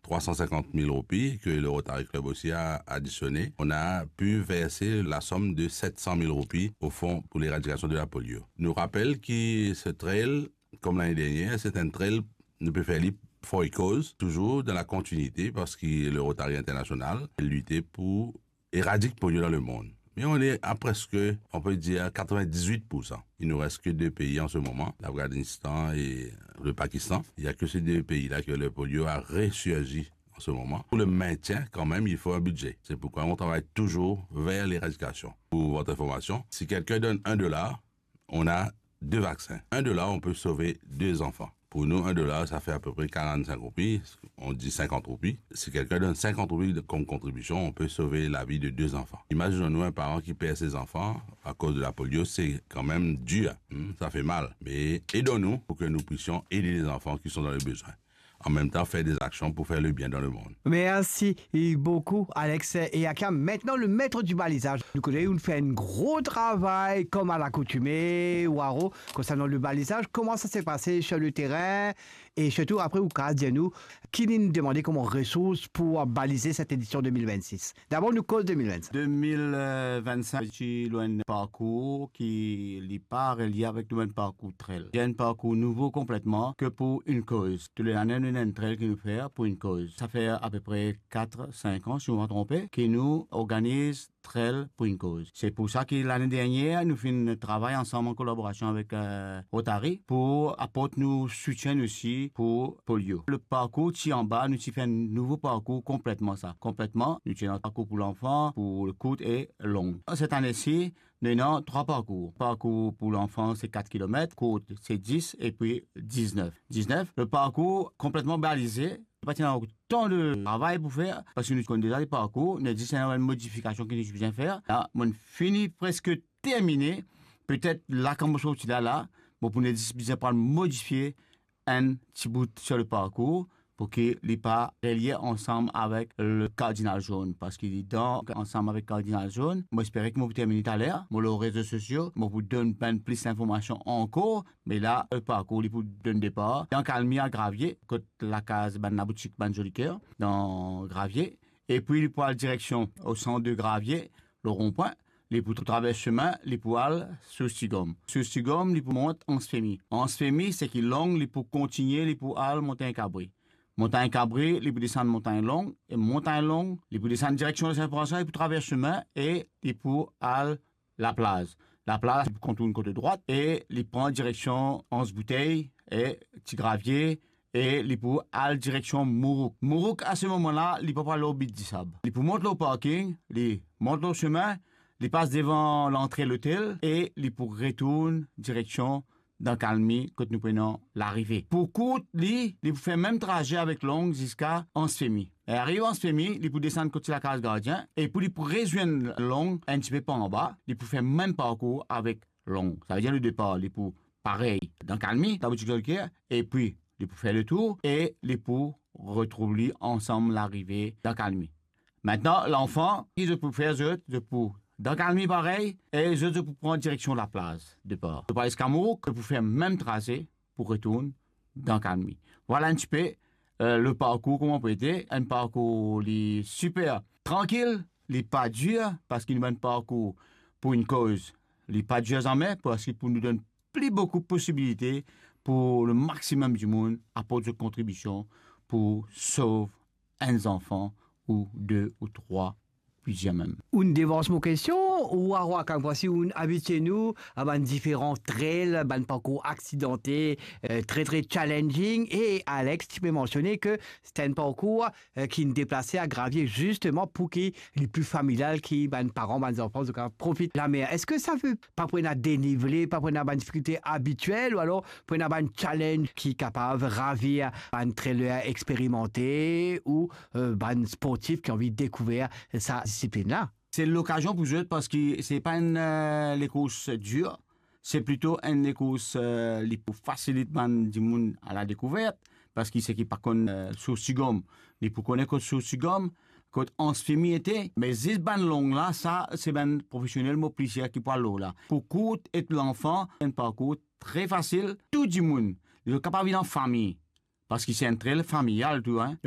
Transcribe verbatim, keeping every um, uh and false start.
trois cent cinquante mille roupies que le Rotary Club aussi a additionné, on a pu verser la somme de sept cent mille roupies au fonds pour l'éradication de la polio. Nou rapel ki se trail, kom lane dernier, se enn trail nou pe fer li Foy Koz, toujours dans la continuité, parce que le Rotary International lite pour éradike polio dans le monde. Mais on est à presque, on peut dire, quatre-vingt-dix-huit pour cent. Il nous reste que deux pays en ce moment, l'Afghanistan et le Pakistan. Il n'y a que ces deux pays-là que le polio a ressurgi en ce moment. Pour le maintien, quand même, il faut un budget. C'est pourquoi on travaille toujours vers l'éradication. Pour votre information, si quelqu'un donne un dollar, on a deux vaccins. Un dollar, on peut sauver deux enfants. Pour nous, un dollar, ça fait à peu près quarante-cinq roupies, on dit cinquante roupies. Si quelqu'un donne cinquante roupies de, comme contribution, on peut sauver la vie de deux enfants. Imaginons-nous un parent qui perd ses enfants à cause de la polio, c'est quand même dur, hein, ça fait mal. Mais aidons-nous pour que nous puissions aider les enfants qui sont dans le besoin. En même temps, faire des actions pour faire le bien dans le monde. Merci beaucoup, Alex et Akia. Maintenant, le maître du balisage. Nou kone ou fer enn gro travay, kom a lakoutime, Waro, konsernant le balisage. Comment ça s'est passé sur le terrain? Et surtout, après, ou kapav dir nou, ki nou demande kouma resours pour baliser cette édition deux mille vingt-six? D'abord, nou koz deux mille vingt-six. Deux mille vingt-cinq, ti lor enn parkour ki li pa relie avek nou bann parkour trail. Li enn parkour nouvo konpletman ke pou enn koz. Tou le lane, nou ena enn trail ki nou fer pou enn koz. Sa fer apepre kat, sink an, si mo pa tronpe, ki nou organiz trail pou enn koz. Se pou sa ki lane dernier, nou finn travay ansam an kolaborasion avek, eh, Rotary pou aport nou soutien osi pou polio. Le parkour ti anba, nou ti fer enn nouvo parkour konpletman sa. Konpletman, nou ti ena parkour pou lanfan, pou le kourt e long. Set ane si, nou ena trwa parkour. Parkour pou lanfan, se kat kilomet, kourt, se dis, epi diznef. Diznef, le parkour konpletman balize, pa ti ena otan de travay pou fer, parski nou konn deza le parkour, nou zis ena enn modifikasion ki nou bizin fer. La, mo fini preske termine, petet la, kan mo sorti la, la, mo pou zis bizin pou al modifie enn ti bout sur le parkour, pou ki li pa relie ansam avek le Cardinal Jaune, parski li dan ansam avek Cardinal Jaune. Mo espere ki mo pou termine taler, mo lor rezo sosio, mo pou donn bann plis linformasion ankor, me la, le parkour, li pou donn depar dan Kalmi a Gravie, kot lakaz bann laboutik, bann Zoliker, dan Gravie. Epi li pou al direksion o sant de Gravie, le ronpwin, li pou travers semin, li pou al Source Tigom. Source Tigom, li pou mont Anse-Femy. Anse-Femy, seki long, li pou kontinie, li pou al Montagne Cabri. Montagne Cabri, li pou desann Montagne Long, e Montagne Long, li pou desann direksion Saint-François, li pou travers semin e li pou al Laplaz. Laplaz, li pou kontourn kote drwat e li pran direksion Anse Bouteille e Ti Gravie, e li pou al direksion Mourouk. Mourouk, a se moman la, li pa pou al lor Bit Disab. Li pou mont lor parking, li mont lor semin, li pas devan lantre lotel e li pou retourn direksion dan Kalmi kot nou pou ena larive. Pou kourt li, li pou fer mem traze avek long ziska Anse-Femy. E ariv Anse-Femy, li pou desann kot ti lakaz gardien, e pou li pou rezwenn long enn tipe par anba, li pou fer mem parkour avek long. Savedir le depar, li pou parey dan Kalmi, laboutik Zoliker, epi li pou fer letour e li pou retrouv li ansam larive dan Kalmi. Aster, lanfan, ki zot pou fer zot, zot pou dan Kalmi parey, e zot, zot pou pran direksion Laplaz depar. Zot pou al ziska Mourouk, zot pou fer mem traze pou retourn dan Kalmi. Vwala enn tipe, eh, le parkour kouma pou ete, enn parkour li siper trankil, li pa dir, parski nou bann parkour pou enn koz, li pa dir zame, parski pou nou donn pli boukou posibilite pou le maximum dimoun aport zot kontribision pou sov enn zanfan ou de ou trwa, plizier mem. Ou'nn devans mo kestion, ou Waro Akam, parski ou'nn abitie nou a bann diferan trail, bann parkour aksidante, eh, tre, tre challenging, e Alex, ti pe mansione ke se enn parkour, eh, ki'nn deplase a Gravie zisteman pou ki li pli familial, ki bann paran, bann zanfan, zot kapav profit lamer. Eski sa ve pa pou ena denivle, pa pou ena bann difikilte abitiel, ou alor pou ena bann challenge ki kapav ravir bann trailer eksperimante ou, eh, bann sportif ki anvi dekouver sa disiplinn la? Se lokazion pou zot, parski se pa enn, eh, lekours dir, se plito enn lekours, eh, li pou fasilit bann dimoun a la dekouvert, parski seki pa konn, eh, Source Tigom, li pou kone kot Source Tigom, kot Anse-Femy ete, me zis bann long la, sa, se bann profesionel, mo plizier ki pou al lor la. Pou kourt e lanfan, enn parkour tre fasil, tou dimoun, li kapav vinn an fami, parski se enn trail familial tou, hein.